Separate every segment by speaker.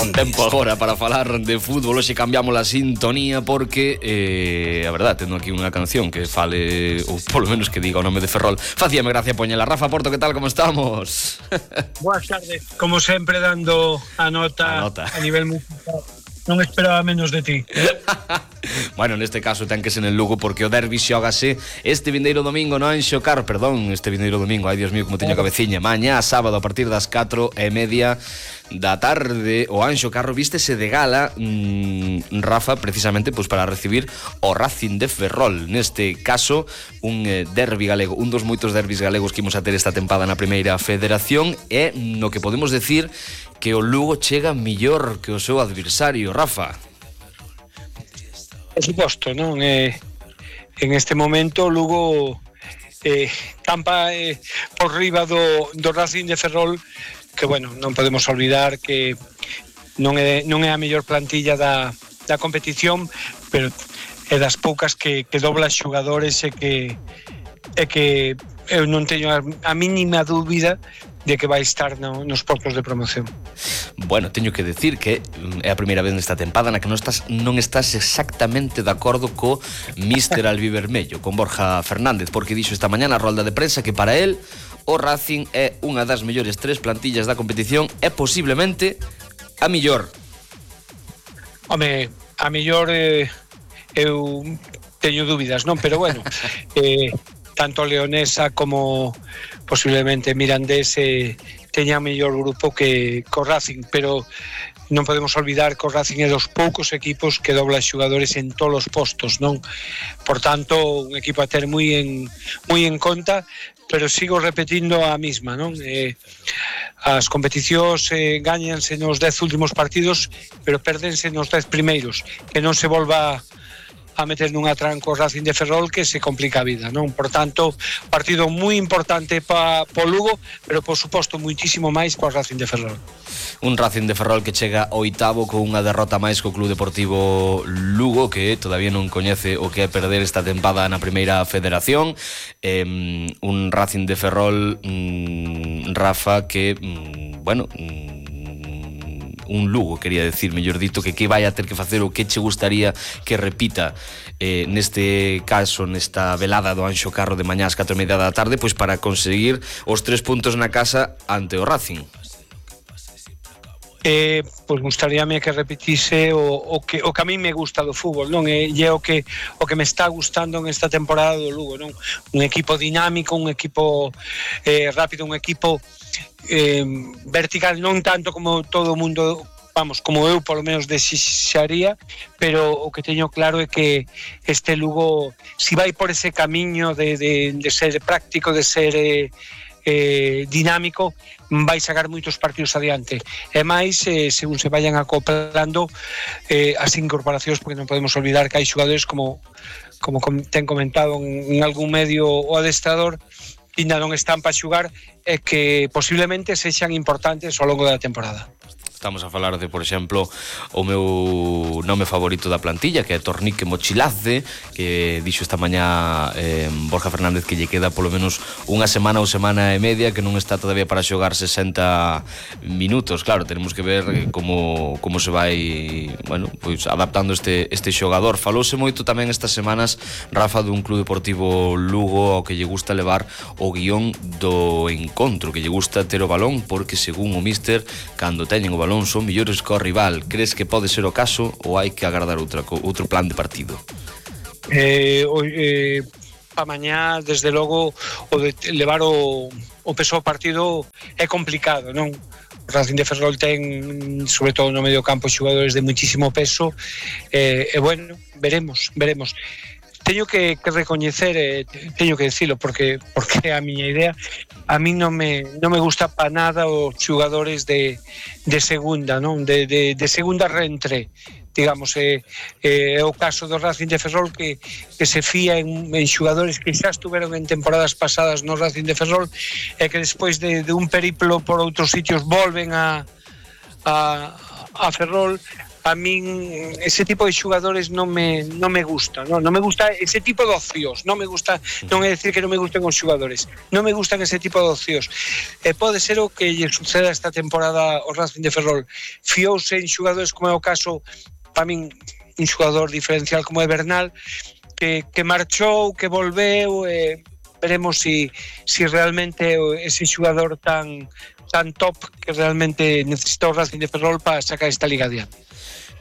Speaker 1: Tempo agora para falar de fútbol. Hoxe cambiamos a sintonía porque a verdad, tendo aquí unha canción que fale, ou polo menos que diga o nome de Ferrol, facíame gracia poñela. Rafa Porto, que tal, como estamos?
Speaker 2: Boas tardes, como sempre dando a nota a nivel musical. Non esperaba menos de ti.
Speaker 1: Bueno, neste caso ten que ser en Lugo porque o derbi xógase este vindeiro domingo no Anxo Carro, este vindeiro domingo, ai Dios mío, como teño cabeciña. Mañá, sábado, a partir das 4:30 da tarde, o Anxo Carro vístese de gala, Rafa, precisamente pois para recibir o Racing de Ferrol. Neste caso, un derbi galego, un dos moitos derbis galegos que imos a ter esta tempada na Primeira Federación, e no que podemos decir que o Lugo chega mellor que o seu adversario, Rafa.
Speaker 2: Por suposto, non? En este momento o Lugo campa por riba do Racing de Ferrol, que, bueno, non podemos olvidar que non é a mellor plantilla da competición, pero é das poucas que dobla xogadores e que eu non teño a mínima dúbida de que vai estar nos postos de promoción.
Speaker 1: Bueno, teño que decir que é a primeira vez nesta tempada na que non estás exactamente de acordo co Míster Albivermello, con Borja Fernández, porque dixo esta mañá na rolda de prensa que para él o Racing é unha das mellores 3 plantillas da competición e posiblemente a mellor.
Speaker 2: Home, a mellor eu teño dúbidas, non? Pero bueno, tanto Leonesa como posiblemente Mirandés teña mellor grupo que o Racing, pero non podemos olvidar que o Racing é dos poucos equipos que dobla xogadores en todos os postos, non? Por tanto, un equipo a ter moi en conta, pero sigo repetindo a mesma, non? As competicións gañanse nos 10 últimos partidos, pero perdense nos 10 primeiros, que non se volva a meter nunha tranco Racing de Ferrol que se complica a vida, non? Por tanto, partido moi importante pa Lugo, pero por suposto muitísimo máis pa Racing de Ferrol.
Speaker 1: Un Racing de Ferrol que chega oitavo con unha derrota máis co Club Deportivo Lugo, que todavía non coñece o que é perder esta tempada na Primeira Federación. Un Racing de Ferrol, Rafa, que, bueno, un Lugo, quería decir, mellor dito, que vai a ter que facer o que che gustaría que repita neste caso, nesta velada do Anxo Carro de mañá ás 4:30 da tarde, pois para conseguir os 3 puntos na casa ante o Racing.
Speaker 2: Pois gustaríame que repetise o que a mí me gusta do fútbol, non? E o que me está gustando en esta temporada do Lugo, non? Un equipo dinámico, un equipo rápido, un equipo vertical, non tanto como todo o mundo, vamos, como eu polo menos desexaría, pero o que teño claro é que este Lugo, si vai por ese camiño de ser práctico, de ser dinámico, vai sacar moitos partidos adiante, e máis según se vayan acoplando as incorporacións, porque non podemos olvidar que hai xogadores como ten comentado en algún medio o adestrador, que ainda non están para xogar e que posiblemente sexan importantes ao longo da temporada.
Speaker 1: Estamos a falar de, por exemplo, o meu nome favorito da plantilla, que é Tornique Mochilaze, que dixo esta mañá Borja Fernández que lle queda polo menos unha semana ou semana e media, que non está todavía para xogar 60 minutos. Claro, tenemos que ver como se vai, bueno, pois adaptando este xogador. Falouse moito tamén estas semanas, Rafa, dun Club Deportivo Lugo ao que lle gusta levar o guión do encontro, que lle gusta ter o balón, porque según o míster, cando teñen o balón son millores co rival. Crees que pode ser o caso ou hai que agardar outro plan de partido?
Speaker 2: Pa mañá, desde logo, o de levar o peso ao partido é complicado, non? O Racing de Ferrol ten, sobre todo no medio campo, xogadores de muitísimo peso, e bueno, veremos. Teño que recoñecer, teño que decirlo, porque é a miña idea. A mí non me gusta para nada os xogadores de segunda, non? De segunda reentré, digamos, é o caso do Racing de Ferrol que se fía en xogadores que xa estuveron en temporadas pasadas no Racing de Ferrol e que despois de un periplo por outros sitios volven a Ferrol. a min ese tipo de xogadores non me gusta, non me gusta ese tipo de ocios, non me gusta, non é decir que non me gusten os xogadores, non me gustan ese tipo de ocios. Pode ser o que lle suceda esta temporada ao Racing de Ferrol, fiouse en xogadores como é o caso, para min, un xogador diferencial como é Bernal, que marchou, que volveu, veremos si realmente ese xogador tan top que realmente necesita o Racing de Ferrol para sacar esta liga adiante.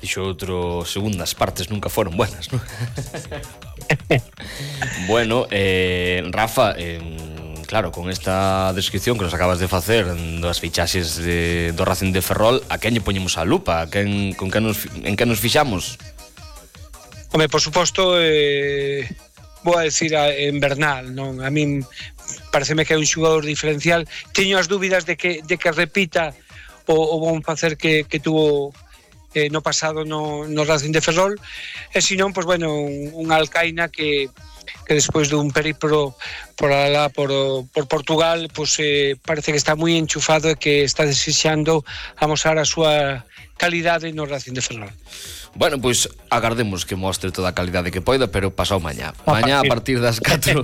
Speaker 1: Dixo outro, segundas partes nunca foron buenas, non? Bueno, Rafa, claro, con esta descripción que nos acabas de facer das fichaxes do Racing de Ferrol, a quen lle poñemos a lupa? En que nos fixamos?
Speaker 2: Home, por suposto, vou a decir en Bernal, non? A min pareceme que é un xogador diferencial. Teño as dúbidas de que repita o bon facer que tuvo no pasado no Racing de Ferrol, e senón, pois bueno, un Alcaina que despois dun periplo por Portugal, pois parece que está moi enchufado e que está desexando amosar a súa calidade no Racing de Ferrol.
Speaker 1: Bueno, pois agardemos que mostre toda a calidade que poida, pero pasado mañá. Mañá a partir das 4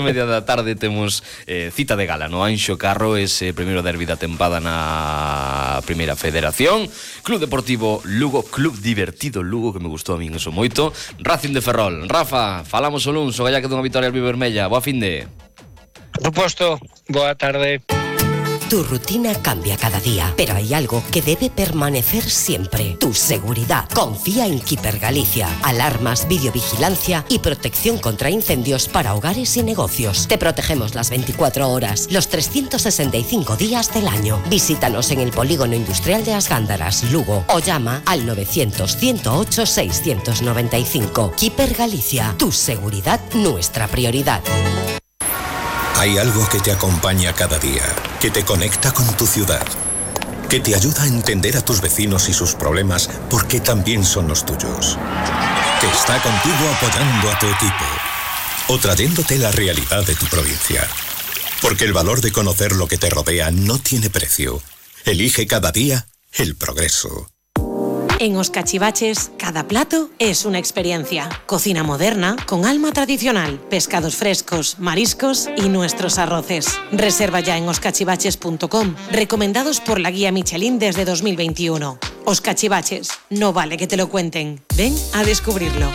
Speaker 1: media da tarde temos cita de gala no Anxo Carro, ese primeiro derbi da tempada na Primeira Federación. Club Deportivo Lugo, club divertido Lugo, que me gustou a min eso moito. Racing de Ferrol. Rafa, falamos o luns, o galla que dunha vitoria albivermella. Boa finde.
Speaker 2: Por suposto, boa tarde.
Speaker 3: Tu rutina cambia cada día, pero hay algo que debe permanecer siempre: tu seguridad. Confía en Keeper Galicia. Alarmas, videovigilancia y protección contra incendios para hogares y negocios. Te protegemos las 24 horas, los 365 días del año. Visítanos en el Polígono Industrial de As Gándaras, Lugo, o llama al 900-108-695. Keeper Galicia. Tu seguridad, nuestra prioridad.
Speaker 4: Hay algo que te acompaña cada día, que te conecta con tu ciudad, que te ayuda a entender a tus vecinos y sus problemas porque también son los tuyos, que está contigo apoyando a tu equipo o trayéndote la realidad de tu provincia. Porque el valor de conocer lo que te rodea no tiene precio. Elige cada día el progreso.
Speaker 5: En Os Cachivaches, cada plato es una experiencia. Cocina moderna, con alma tradicional, pescados frescos, mariscos y nuestros arroces. Reserva ya en oscachivaches.com, recomendados por la guía Michelin desde 2021. Os Cachivaches, no vale que te lo cuenten. Ven a descubrirlo.